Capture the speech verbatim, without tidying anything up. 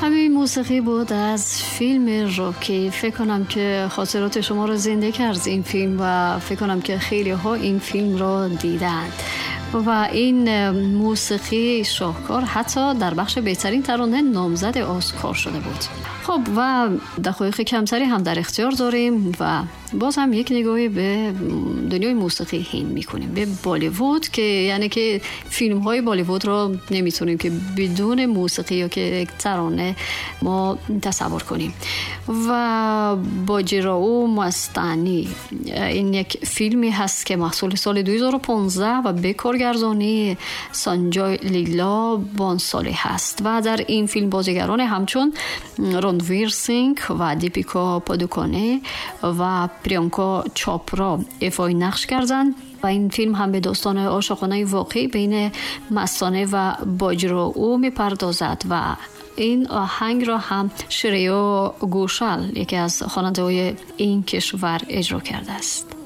همین موسیقی بود از فیلم راکی. فکر کنم که خاطرات شما رو زنده کرد این فیلم و فکر کنم که خیلی ها این فیلم رو دیدند و این موسیقی شاهکار حتی در بخش بهترین ترانه نامزد اسکار شده بود. خب و دقایق کمتری هم در اختیار داریم و باز هم یک نگاهی به دنیای موسیقی هند میکنیم، به بالیوود، که یعنی که فیلم های بالیوود رو نمیتونیم که بدون موسیقی یا که یک ترانه ما تصور کنیم. و باجیراو مستانی این یک فیلمی هست که محصول سال دو هزار و پانزده و به کارگردانی سانجای لیلا بانسالی هست و در این فیلم بازیگران همچون رانویر سینگ و دیپیکا پادوکانه و پریانکا چاپرا ایفای نقش کردند و این فیلم هم به داستان عاشقانه واقعی بین مستانه و باجیراو میپردازد و این آهنگ را هم شریو گوشال، یکی از خواننده‌های این کشور، اجرا کرده است.